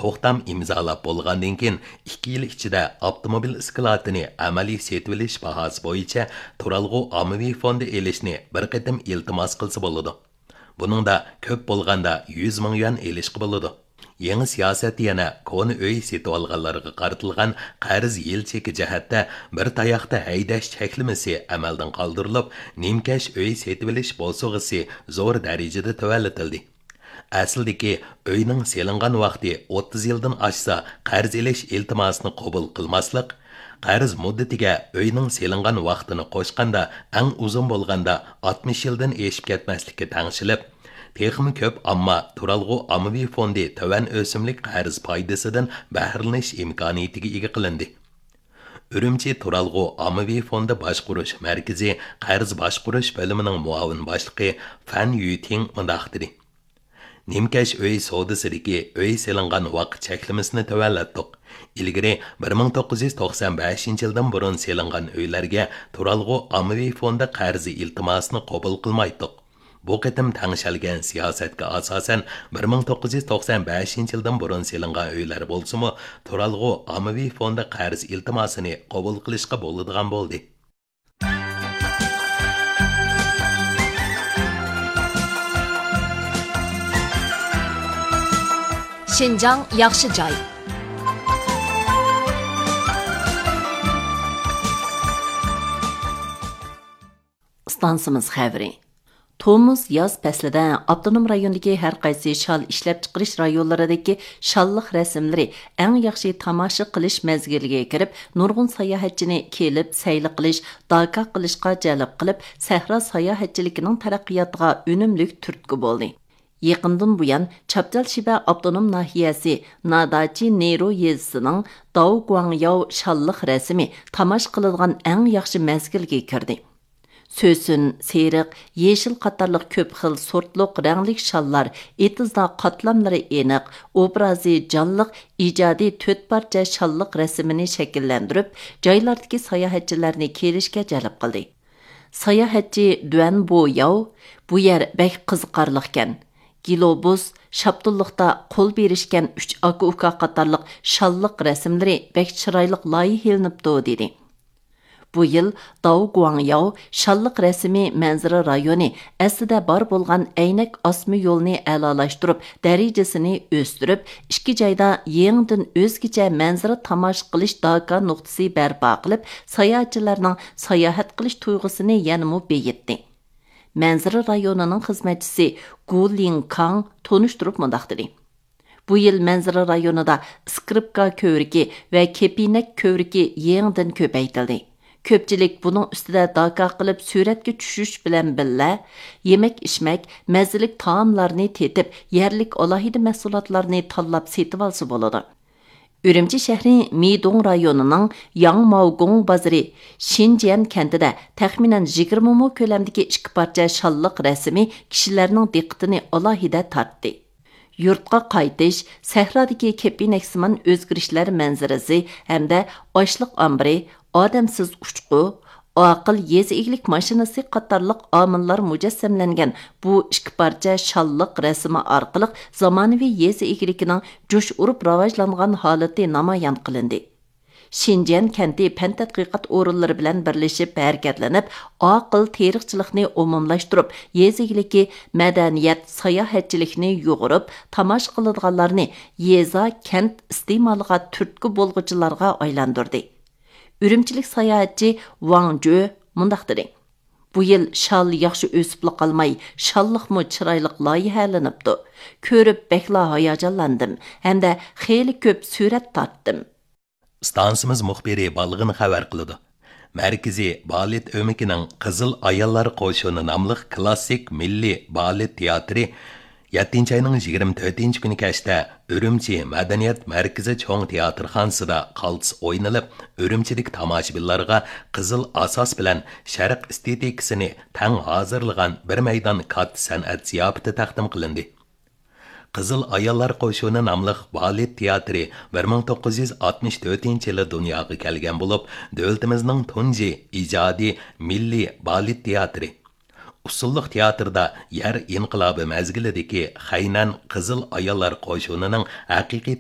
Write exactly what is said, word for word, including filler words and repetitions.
توختام ئىمزالاپ بولغاندىن كېيىن، ئىككى يىل ئىچىدە ئاپتوموبىل ئىسكىلاتىنى ئەمەلىي سېتىۋېلىش باھاسى بويىچە تۇرالغۇ ئاممىۋى فوندى ئېلىشنى بىر قېتىم ئىلتىماس قىلسا بولىدۇ. بۇنىڭدا كۆپ بولغاندا يۈز مىڭ يۈەن ئېلىشقا بولىدۇ. يېڭى سىياسەت يەنە كونا ئۆي سېتىۋالغانلارغا قارىتىلغان قەرز يىل چېكى جەھەتتە بىر تاياقتا ھەيدەش چەكلىمىسى ئەمەلدىن قالدۇرۇلۇپ، نىمكەش ئۆي سېتىۋېلىش بوسۇغىسى زور دەرىجىدە تۆۋەنلىتىلدى. ئەسلىدىكى ئۆينىڭ سېلىنغان ۋاقتى ئوتتۇز يىلدىن ئاشسا، قەرز ئېلىش ئىلتىماسىنى قوبۇل قىلماسلىق، قەرز مۇددىتىگە ئۆينىڭ سېلىنغان ۋاقتىنى قوشقاندا، ئەڭ ئۇزۇن بولغاندا ئاتمىش يىلدىن ئېشىپ كەتمەسلىككە تەڭشىلىپ، تېخىمۇ كۆپ ئامما تۇرالغۇ ئاممىۋى فوندى تۆۋەن ئۆسۈملۈك قەرز پايدىسىدىن بەھرىلىنىش ئىمكانىيىتىگە ئىگە قىلىندى. ئۈرۈمچى تۇرالغۇ ئاممىۋى فوندى باشقۇرۇش مەركىزى قەرز باشقۇرۇش بۆلۈمىنىڭ مۇئاۋىن باشلىقى فەن يۈتىڭ مۇنداق دېدى: نىمكەش ئۆي سودىسىدىكى ئۆي سېلىنغان ۋاقىت چەكلىمىسىنى تۆۋەنلەتتۇق. ئىلگىرى بىر مىڭ توققۇز يۈز توقسان بەشىنچى يىلدىن بۇرۇن سېلىنغان ئۆيلەرگە تۇرالغۇ ئاممىۋى فوندى قەرزى ئىلتىماسىنى قوبۇل قىلمايتتۇق. بۇ قېتىم تەڭشەلگەن سىياسەتكە ئاساسەن، بىر مىڭ توققۇز يۈز توقسان بەشىنچى يىلدىن بۇرۇن سېلىنغان ئۆيلەر بولسىمۇ، تۇرالغۇ ئاممىۋى فوندى قەرز ئىلتىماسىنى قوبۇل قىلىشقا بولىدىغان بولدى. شىنجاڭ ياخشى جاي. ئىستانسىمىز خەۋىرى. تومۇز، ياز پەسلىدە ئاپتونوم رايوندىكى ھەر قايسى شال ئىشلەپچىقىرىش رايونلىرىدىكى شاللىق رەسىملىرى ئەڭ ياخشى تاماشا قىلىش مەزگىلىگە كىرىپ، نۇرغۇن ساياھەتچىنى كېلىپ سەيلە قىلىش، داكا قىلىشقا جەلپ قىلىپ، سەھرا ساياھەتچىلىكىنىڭ تەرەققىياتىغا ئۈنۈملۈك تۈرتكە بولدى. يېقىندىن بۇيان، چاپچال شىبە ئاپتونوم ناھىيەسى ناداچى نېرو يېزىسىنىڭ داۋ گۇاڭياۋ شاللىق رەسىمى تاماشا قىلىدىغان ئەڭ ياخشى مەزگىلگە كىردى. سۆسۈن، سېرىق، يېشىل قاتارلىق كۆپ خىل سورتلۇق رەڭلىك شاللار ئېتىزدا قاتلاملىرى ئېنىق، ئوبرازى جانلىق ئىجادىي تۆت پارچە شاللىق رەسىمىنى شەكىللەندۈرۈپ، جايلاردىكى ساياھەتچىلەرنى كېلىشكە جەلپ قىلدى. ساياھەتچى دۈەن بوياۋ، بۇ يەر بەك قىزىقارلىقكەن. گىلوبۇس، شاپتۇللۇقتا قول بېرىشكەن ئۈچ ئاكا-ئۇكا قاتارلىق شاللىق رەسىملىرى بەك چىرايلىق لايىھىلىنىپتۇ، دېدى. بۇ يىل داۋ گۇاڭياۋ شاللىق رەسىمى مەنزىرە رايونى ئەسلىدە بار بولغان ئەينەك ئاسما يولنى ئەلالاشتۇرۇپ، دەرىجىسىنى ئۆستۈرۈپ، ئىككى جايدا يېڭىدىن ئۆزگىچە مەنزىرە تاماشا قىلىش داكا نۇقتىسى بەرپا قىلىپ، ساياھەتچىلەرنىڭ ساياھەت قىلىش تۇيغۇسىنى يەنىمۇ بېيىتتى. مەنزىرە رايونىنىڭ خىزمەتچىسى گۇ لىڭكاڭ تونۇشتۇرۇپ مۇنداق دېدى: بۇ يىل مەنزىرە رايونىدا ئىسكرىپكا كۆۋرۈكى ۋە كېپىنەك كۆۋرۈكى يېڭىدىن كۆپەيتىلدى. كۆپچىلىك بۇنىڭ ئۈستىدە داكا قىلىپ سۈرەتكە چۈشۈش بىلەن بىللە، يېمەك-ئىچمەك، مەززىلىك تائاملارنى تېتىپ، يەرلىك ئالاھىدە مەھسۇلاتلارنى تاللاپ سېتىۋالسا بولىدۇ. ئۈرۈمچى شەھىرى مىدۇڭ رايونىنىڭ ياڭماۋگۇڭ بازىرى شىنجيەن كەنتىدە تەخمىنەن يىگىرمە مو كۆلەمدىكى ئىككى پارچە شاللىق رەسىمى كىشىلەرنىڭ دىققىتىنى ئالاھىدە تارتتى. يۇرتقا قايتىش، سەھرادىكى كېپىنەكسىمان ئۆزگىرىشلەر مەنزىرىسى ھەمدە ئاشلىق ئامبىرى، ئادەمسىز ئۇچقۇ، ئاقىل يېزا ئىگىلىك ماشىنىسى قاتارلىق ئامىللار مۇجەسسەملەنگەن بۇ ئىككى پارچە شاللىق رەسىمى ئارقىلىق زامانىۋى يېزا ئىگىلىكىنىڭ جۇش ئۇرۇپ راۋاجلانغان ھالىتى نامايان قىلىندى. شىنجيەن كەنتى پەن تەتقىقات ئورۇنلىرى بىلەن بىرلىشىپ ھەرىكەتلىنىپ، ئاقىل تېرىقچىلىقنى ئومۇملاشتۇرۇپ، يېزا ئىگىلىكى، مەدەنىيەت، ساياھەتچىلىكنى يۇغۇرۇپ، تاماشا قىلىدىغانلارنى يېزا، كەنت ئىستېمالىغا تۈرتكە بولغۇچىلارغا ئايلاندۇردى. ئۈرۈمچىلىك ساياھەتچى ۋاڭ جۆ مۇنداق دېدى: بۇ يىل شال ياخشى ئۆسۈپلا قالماي، شاللىقمۇ چىرايلىق لايىھەلىنىپتۇ. كۆرۈپ بەكلا ھاياجانلاندىم ھەمدە خېلى كۆپ سۈرەت تارتتىم. ئىستانسىمىز مۇخبىرى بالغىن خەۋەر قىلىدۇ. مەركىزىي بالېت ئۆمىكىنىڭ قىزىل ئاياللار قوشۇنى ناملىق كلاسسىك مىللىي بالېت تىياتىرى يەتتىنچى ئاينىڭ يىگىرمە تۆتىنچى كۈنى كەچتە ئۈرۈمچى مەدەنىيەت مەركىزى چوڭ تىياتىرخانىسىدا قالتىس ئوينىلىپ، ئۈرۈمچىدىكى تاماشىبىنلارغا قىزىل ئاساس بىلەن شەرق ئېستېتىكىسىنى تەڭ ھازىرلىغان بىر مەيدان كاتتا سەنئەت زىياپىتى تەقدىم قىلىندى. قىزىل ئاياللار قوشۇنى ناملىق بالېت تىياتىرى بىر مىڭ توققۇز يۈز ئاتمىش تۆتىنچى يىلى دۇنياغا كەلگەن بولۇپ، دۆلىتىمىزنىڭ تۇنجى ئىجادىي مىللىي بالېت تىياتىرى. ئۇسسۇللۇق تىياتىردا يەر ئىنقىلابى مەزگىلىدىكى خەينەن قىزىل ئاياللار قوشۇنىنىڭ ھەقىقىي